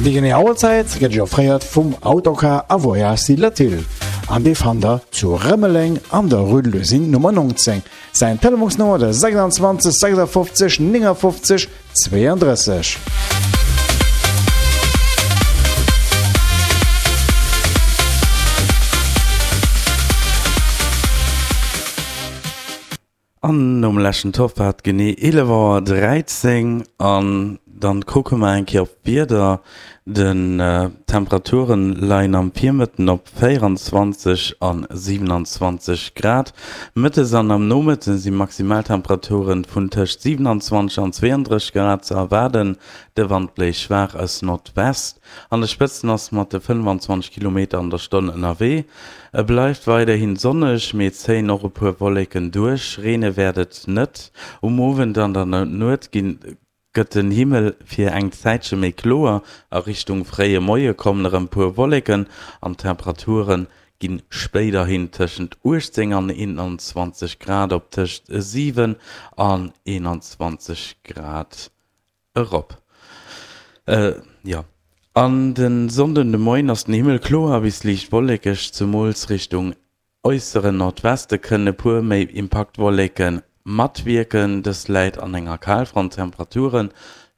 Déi genee Auerzäit gëtt Iech offréiert vum Autocar a Voyage Latil an dee fannt der zu Rëmeleng an der Rue de l'Usine Nummer 19. Säin Telefonsnummer de 26 56 59 32. An nom leschten Topp war et genee 11 Auer 13 an dann kucke mer eng Kéier op d'Wieder. Den Temperaturen leien am Virmëtten op 24 an 27 Grad. Mëttes an am Nomëtten si Maximaltemperaturen vun tëscht 27 an 32 Grad ze erwaarden. De Wand bléist schwaach aus Nordwest. An de Spëtzen ass mat de 25 Kilometer an der Stonn ënnerwee. E bleift weiderhin sonneg, mee zéien och e puer Wolleken duerch. Reene wäert et net. Um Owend an der Nuet ginn gëtt den Himmel fir eng Zäitche méi kloer, a Richtung fréie Moie kommen erëm puer Wolleken an d'Temperature ginn spéiderhin tëschent 18 an 21 Grad op tëscht 7 an 21 Grad erop. An de Sonnden de Moien ass den Himmel kloer bis liicht wollekeg, zemools Richtung Äusseren Nordweste kënnen e puer méi Impaktwolleke matwierken, dës läit an enger Kalfront. D'Temperature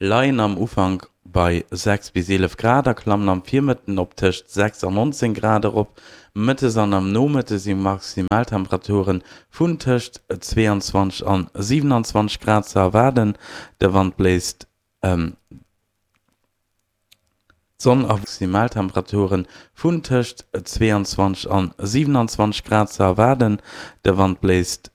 leien am Ufank bei 6 bis 11 Grad a klammen am Virmëtten op tëscht 6 an 19 Grad erop. Mëttes an am Nomëtte si Maximaltemperature vun tëscht 22 an 27 Grad ze erwaarden. De Wand bléist D'Sonn a Maximaltemperature vun tëscht 22 an 27 Grad ze erwaarden. De Wand bléist.